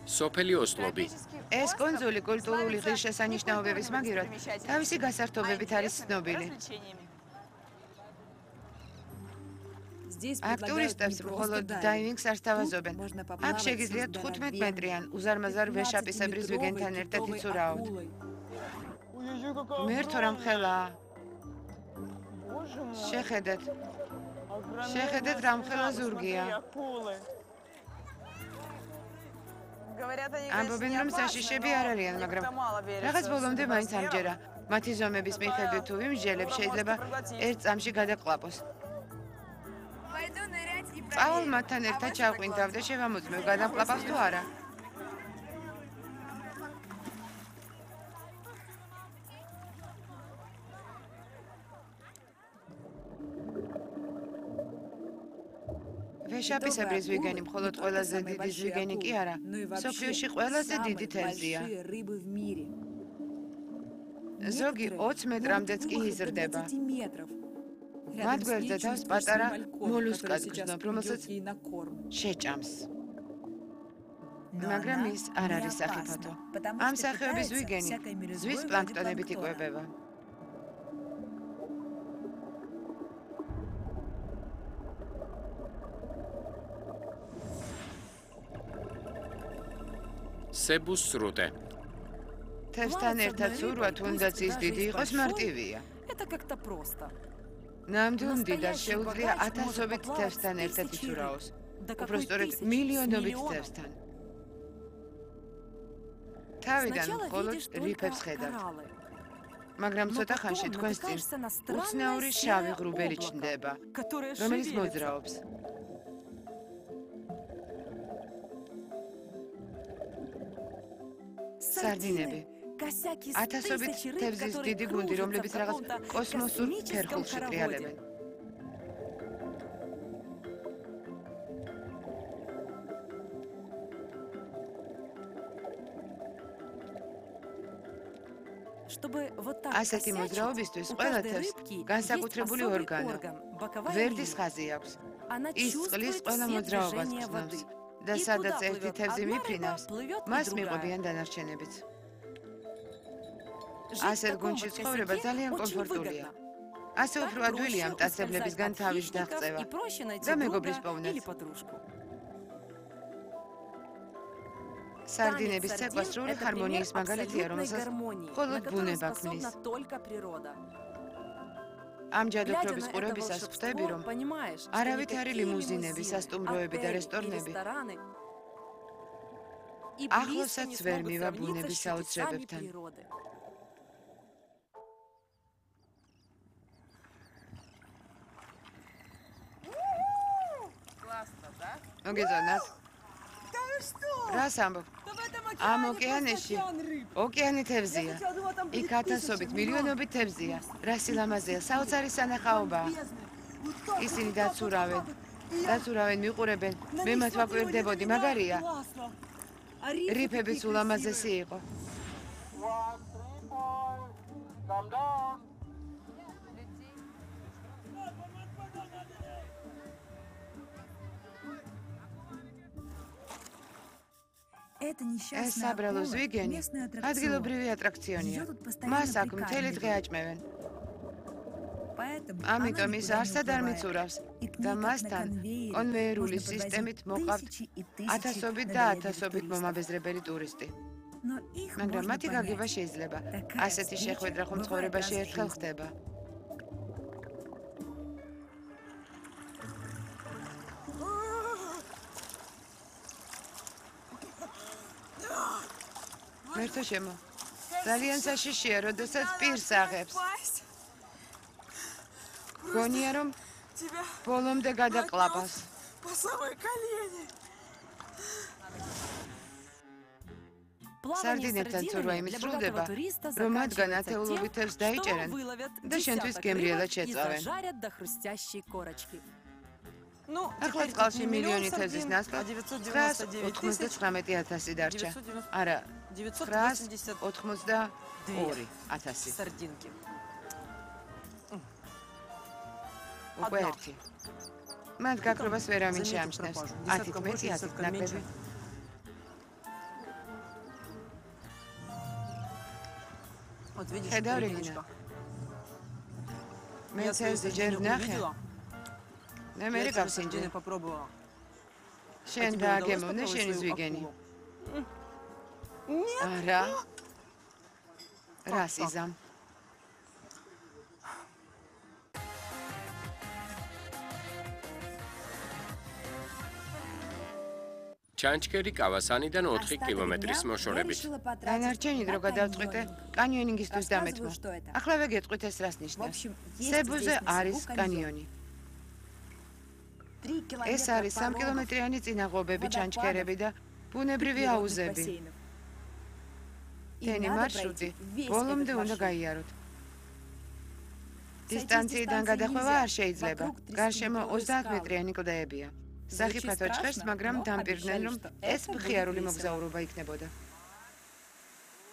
სოფელი ოსლობი. ეს კუნძული კულტურული ღირსშესანიშნაობების მაგივრად თავისი გასართობებით არის ცნობილი. აქ ტურისტებს მხოლოდ დაივინგს არ სთავაზობენ. აქ შეგიძლიათ 15 მეტრიან უზარმაზარ ვეშაპისებრი ზვიგენთან ერთად იცურაოთ. მერთო რამ ხელაა. შეხედეთ რამ ხელა ზურგია. ამბობენ რომ საშიშები არ არიან, მაგრამ რაღაც ბოლომდე მაინც ამჯერა. მათი ზომების მიხედვით თუ ვიმსჯელებ, შეიძლება ერთ წამში გადაყლაპოს. წავალ მათთან ერთად ჩავყვინთავ და შევამოწმევ, გადამყლაპავს თუ არა. ვეშაპისებრი ზვიგენი მხოლოდ ყველაზე დიდი ზვიგენი კი არა, მსოფლიოში ყველაზე დიდი თევზია. ზოგი 20 მეტრამდეც კი იზრდება. მათ გვერდზე თავს პატარა მოლუსკას გრძნობ, რომელსაც შეჭამს. მაგრამ ის არ არის სახიფათო. ამ სახეობის ზვიგენი ზღვის პლანქტონებით იკვებება. სებუს სრუტე. თევზთან ერთად ცურვა თუნდაც ის დიდი იყოს მარტივია. ნამდვილ მდიდარს შეუძლია ათასობით თევზთან ერთად იცურაოს. უпростоრედ მილიონობით თევზთან. თავიდან მხოლოდ რიფებს ხედავთ. მაგრამ ცოტა ხანში თქვენს წინ უცნაური შავი ღრუბელი ჩნდება, რომელიც მოძრაობს. სარდინები. ათასობით თევზის დიდი გუნდი, რომლებიც რაღაც კოსმოსურ ფერხულში ტრიალებენ. ასეთი მოძრაობისთვის ყველა თევზს განსაკუთრებული ორგანო, ვერდის ხაზი აქვს. ის წყლის ყველა მოძრაობას გრძნობს და სადაც ერთი თევზი მიფრინავს, მას მიყვებიან დანარჩენებიც. ასეთ გუნდში ცხოვრება ძალიან კომფორტულია. ასე უფრო ადვილია მტაცებლებისგან თავის დაღწევა და მეგობრის პოვნაც. სარდინების ცეკვა სრული ჰარმონიის მაგალითია, რომელსაც მხოლოდ ბუნება ქმნის. ამ ჯადოქრობის ყურებისას ხვდები, რომ არავითარი ლიმუზინები, სასტუმროები და რესტორნები ახლოსაც ვერ მივა ბუნების საოცრებებთან. მოგეწონათ? რას ამბობ? ამ ოკეანეში ოკეანი თევზია. იქ ათასობით, მილიონობით თევზია. რა სილამაზეა, საოცარი სანახაობაა. ისინი დაცურავენ, მიყურებენ. მე მათ ვაკვირდებოდი, მაგარია. რიფების ულამაზესი იყო. ეს საბრალო ზვიგენი ადგილობრივი ატრაქციონია. მას აქ მთელი დღე აჭმევენ. ამიტომ ის არსად არ მიცურავს და მასთან კონვეიერული სისტემით მოყავთ ათასობით და ათასობით მომაბეზრებელი ტურისტი. მაგრამ მათი გაგება შეიძლება. ასეთი შეხვედრა ხომ ცხოვრებაში ერთხელ ხდება. მერთო შემო, ძალიან საშიშია, როდესაც პირს აღებს. გონია, რომ ბოლომდე გადაყლაპავს. სარდინებთან ცურვა იმის სრულდება, რომ მათგან ათეულობით თევზს დაიჭერენ და შენთვის გემრიელად შეწავენ. ახლა წყალში მილიონი თევზის ნაცვლად 999,000 დარჩა. არა, 992,000. უკვე ერთი. მათ გაქრობას ვერ ამინჩე ამჩნევს. 10-ით მეტი, 10-ით ნაკლები. ხედავ რეგინა. მე ცელზე ჯერ ვნახე. მე გავსინჯე. შენ დააგემოვნე შენი ზვიგენი. არა. რასიზამ. ჩანჩქერი კავასანიდან 4 კილომეტრის მოშორებით. დანარჩენი დრო გადავწყვიტე კანიონინგისთვის დამეთმო. ახლა ვეგეტყვით ეს რას ნიშნავს. სებუზე არის კანიონი. ეს არის 3 კილომეტრიანი წინაღობები, ჩანჩქერები და ბუნებრივი აუზები. თენი მარშრუტი ბოლომდე უნდა გაიაროთ. დისტანციიდან გადახვევა არ შეიძლება. გარშემო 30 მეტრიანი კლდეებია. სახიფათო ჭხერს, მაგრამ დამპირდნენ, რომ ეს მხიარული მოგზაურობა იქნებოდა.